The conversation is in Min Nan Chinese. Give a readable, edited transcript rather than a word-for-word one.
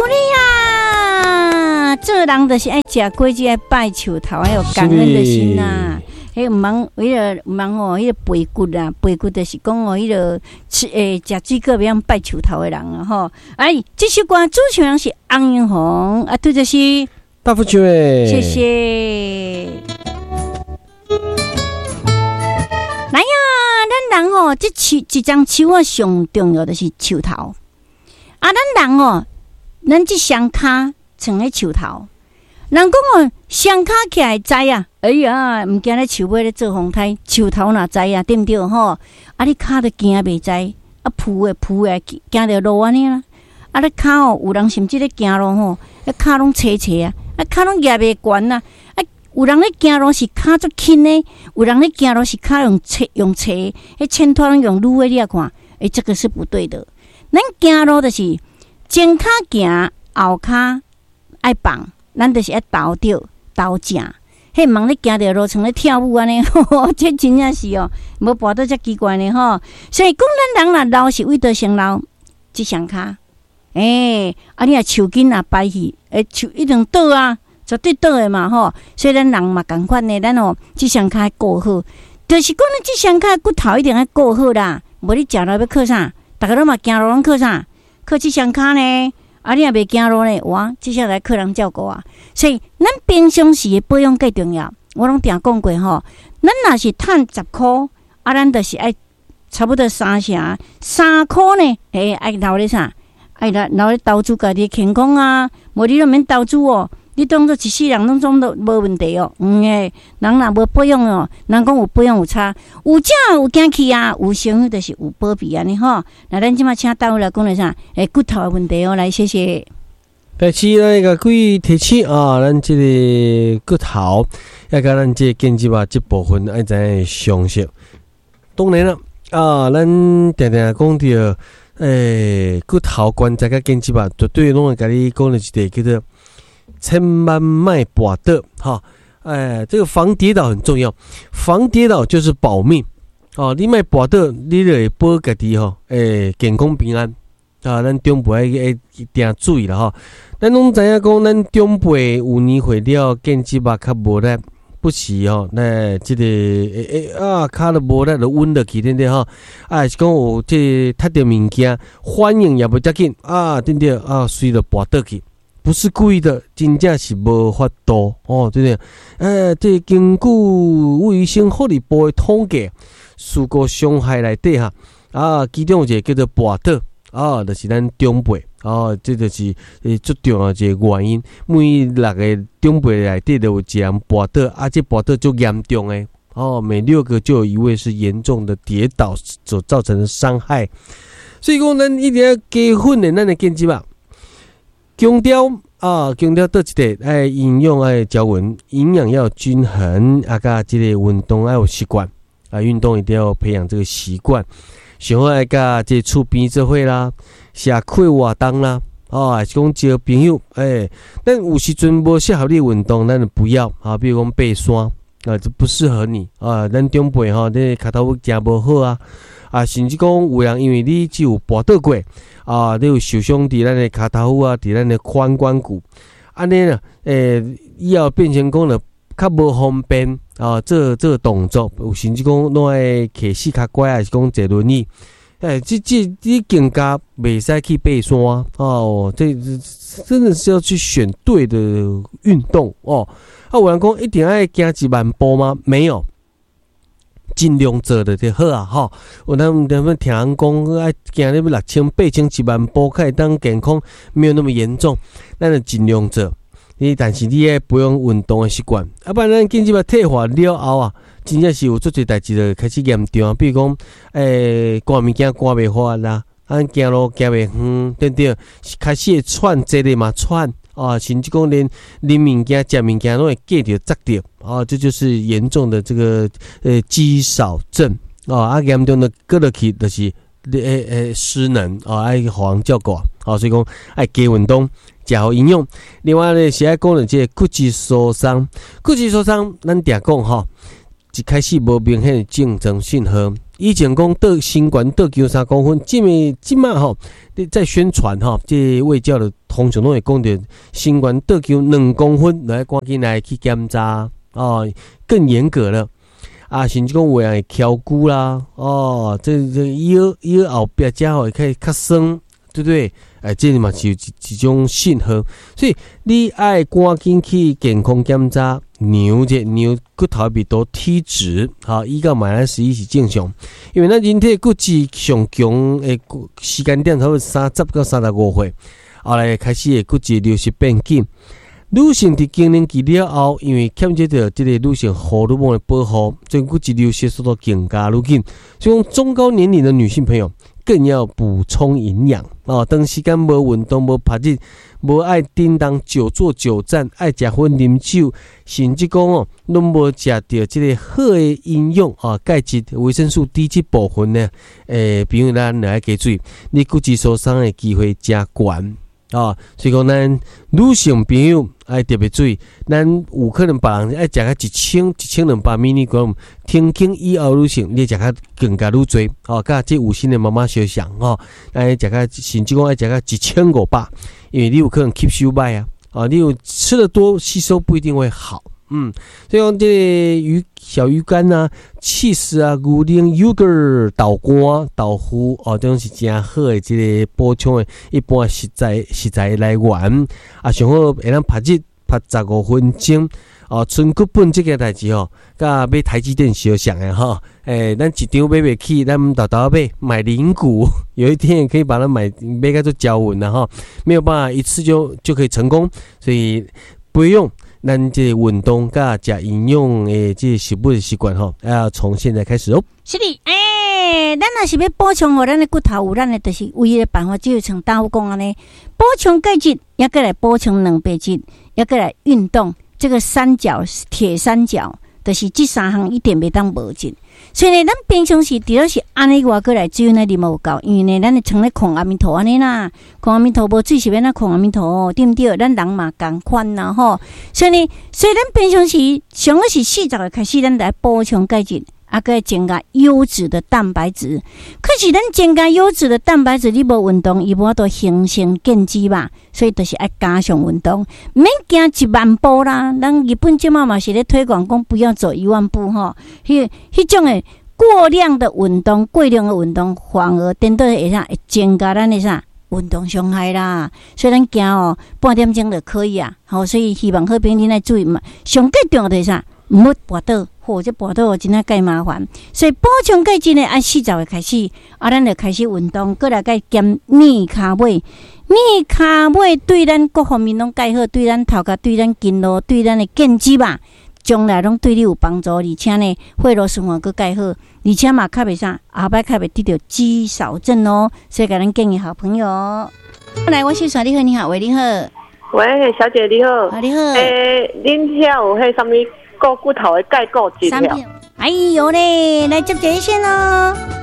鼓勵啊！做人就是愛食果子，愛拜樹頭，愛有感恩的心啊！彼毋通，彼个毋通吼，彼个背骨啊，背骨就是講哦，彼个吃欸，食水果袂曉拜樹頭的人啊吼！哎，這首歌主唱人是翁英紅，啊，拄則是大富唱的，謝謝。來呀，咱人吼，這樹一欉樹啊，上重要就是樹頭。啊，咱人哦，咱這雙跤蹛咧樹頭。人講哦，雙跤起來會知啊，哎呀，毋驚咧樹尾咧做風颱，樹頭若知啊，對毋對吼？啊，你跤都行袂知，啊，浮的浮的，行著路按呢啦。啊，你跤哦，有人甚至咧行路吼，啊，跤攏斜斜啊，啊，跤攏舉袂懸啊。啊，有人咧行路是跤足輕的，有人咧行路是跤用斜用斜，彼前拖攏用擼的，你也看，欸，這個是不對的。咱行路就是前跤行，後跤愛放，咱就是愛頭著頭正。彼毋通咧行著路，像咧跳舞按呢，這真正是哦，無跋倒才奇怪呢吼。所以講，咱人若老是為佗先老，這雙跤，欸，啊，你若樹根若掰去，欸，樹一定倒啊，絕對倒的嘛吼。所以咱人嘛仝款的，咱哦，這雙跤愛顧好，就是講咱這雙跤骨頭一定愛顧好啦。無你食落欲靠啥？逐个攏嘛行路攏靠啥？靠這雙跤呢？啊，你若袂行路呢？哇，這下來靠人照顧啊！所以咱平常時的保養較重要。我攏定講過吼，咱若是趁十箍，啊，咱就是愛差不多三成，3箍呢？欸，愛留咧啥？愛留留咧投資家己的健康啊！無你攏免投資哦，你當做一世人攏總都無問題哦。嗯嘿，人若無保養哦，人講有保養有差，有食有行去啊，有生就是有保庇按呢吼。那咱這馬請大夫來講咧啥？欸，骨頭的問題哦，來謝謝。第七，咱共各位提醒啊，咱這个骨頭，也佮咱這个肩脊啊，這部分愛知影常識。當然啦，啊，咱定定講著，欸，骨頭關節佮肩脊啊，絕對攏會共你講著一个叫做千萬莫跋倒，哈，哎，這個防跌倒很重要，防跌倒就是保命，哦，你莫跋倒，你就會保家己吼，欸，健康平安。啊，咱長輩愛愛定注意啦吼。咱攏知影講，咱長輩有年歲了，肩脊肉較無力，不時吼，那這個欸欸啊，跤都無力就穩落去，對毋對吼？啊，是講有這個踢著物件，反應也袂遮緊啊，對毋對？啊，隨就跋倒去，不是故意的，真正是無法度哦，對毋對？欸，這根據衛生福利部的統計，事故傷害內底哈，啊，其中有一個叫做跋倒。啊，就是咱長輩，哦，這就是欸足重要一個原因。每六個長輩內底就有一個人跋倒，啊，這跋倒足嚴重的，哦，每六個就有一位是嚴重的跌倒所造成的傷害。所以講，咱一定要加訓練咱的肩脊啊，強調啊，強調佗一個，愛營養愛均勻，營養要均衡，啊，佮這個運動愛有習慣，啊，運動一定要培養這個習慣。上好愛佮這厝邊做伙啦，社區活動啦，哦，還是講交朋友，欸，咱有時陣無適合你運動，咱就不要啊。比如講爬山，啊，這不適合你啊。咱長輩吼，你跤頭趺誠無好啊，啊，甚至講有人因為你只有跋倒過，啊，你有受傷佇咱的跤頭趺啊，佇咱的髖關骨，按呢啦，欸，以後變成講就較無方便啊，做這個動作，有甚至講攏愛騎四跤拐，還是講坐輪椅，欸，這這你更加袂使去爬山哦。這真的是要去選對的運動哦。啊，有人講一定愛行1萬步嗎？沒有，盡量做就好啊，吼。有咱咱聽人講愛行咧欲6000、8000、1萬步，才會當健康，沒有那麼嚴重，咱就盡量做。你但是你愛培養運動的習慣，啊，不然咱肩脊退化了後啊，真正是有足濟代誌就開始嚴重啊。比如講，欸，搬物件搬袂翻啦，啊，行路行袂遠，對毋對？開始會喘，坐咧嘛喘啊，甚至講連啉物件、食物件攏會粿著、窒著啊，這就是嚴重的這個肌少症啊，啊，嚴重的過落去就是欸欸失能啊，愛予人照顧啊，所以講愛加運動。食好營養，另外咧是愛講著這個骨質疏鬆，骨質疏鬆，咱定講吼，一開始無明顯的症狀信號，以前講倒身懸倒加3公分，這物這馬吼，你在宣傳吼，這衛教的通常攏會講著身懸倒加2公分，來趕緊來去檢查哦，更嚴格了。啊，甚至講有的人會蹺骨啦，哦，這腰腰後壁遮吼會較較酸，對不對？哎，這嘛是一種信號，所以你愛趕緊去健康檢查，量者量骨頭密度體質，吼，1到-11是正常，因為咱人體骨質上強的時間點差不多30到35歲，後來開始會骨質流失變緊。女性佇更年期了後，因為欠缺著這個女性荷爾蒙的保護，所以骨質流失速度更加愈緊。所以講，中高年齡的女性朋友更要補充營養哦。長時間無運動、無曝日、無愛叮當久坐久站、愛食薰、啉酒，甚至講哦，攏無食著這個好的營養啊，鈣質、維生素 D 這部分呢，欸，朋友咱著愛加注意，你骨質疏鬆的機會誠懸。啊，所以講咱女性朋友愛特別注意，咱有可能別人愛食較一千1200 milligram，停經以後女性你食較更加愈濟，哦，佮這有心的媽媽相像吼，愛食較甚至講愛食較1500，因為你有可能吸收歹啊，啊，你有吃得多，吸收不一定會好，嗯，所以講這個魚小魚乾啊、起司啊、牛奶、yogurt、豆乾、豆腐哦，這種是誠好的這個補充的一般食材來源。啊，上好會當曝日曝15分鐘。哦，存骨本這件代誌吼，佮買台積電相像的吼。欸，咱一張買袂起，咱沓沓買買零股，有一天也可以把它買買個做交穩了吼。沒有辦法一次就可以成功，所以不用。咱這個運動佮食營養的這個食物的習慣吼，要從現在開始哦。是的，欸，咱若是欲補充予咱的骨頭有咱的，就是唯一的辦法，就是像大夫講按呢，補充鈣質，抑閣來補充蛋白質，抑閣來運動，這個三角鐵三角，就是這三項一定袂當無一。所以呢，咱平常時除了是按呢外，閣來水呢啉無夠，因為呢，咱會像咧炕阿彌陀按呢啦，炕阿彌陀無水是欲按怎炕阿彌陀，對毋對？咱人嘛仝款啦吼。所以呢，所以咱平常時上好是40歲開始，咱來補充鈣質，啊，閣增加優質的蛋白質。可是咱增加優質的蛋白質，你無運動，伊無法度形成建肌吧？所以就是愛加強運動，毋免行1萬步啦。咱日本這馬嘛是咧推廣講不要走1萬步吼，彼種的過量的運動、過量的運動，反而顛倒會啥？會增加咱的啥？運動傷害啦。所以咱行哦，半點鐘就可以啊。好，所以希望好朋友恁愛注意嘛。上蓋重要就是啥？毋好跋倒，或者跋倒真正蓋麻煩。所以補充鈣質呢，按40歲開始，啊，咱就開始運動，閣來蓋減膩跤尾。膩跤尾對咱各方面攏蓋好，對咱頭殼、對咱筋肉、對咱的建肌吧，將來攏對你有幫助。而且呢，血路循環閣蓋好，而且嘛較袂啥，後擺較袂得著肌少症哦。所以共咱建議好朋友。來，我是說你好，你好，喂，你好。喂，小姐你好。啊，你好。欸，恁遐有彼啥物顧骨頭的鈣骨質？哎喲咧，來接一線咯。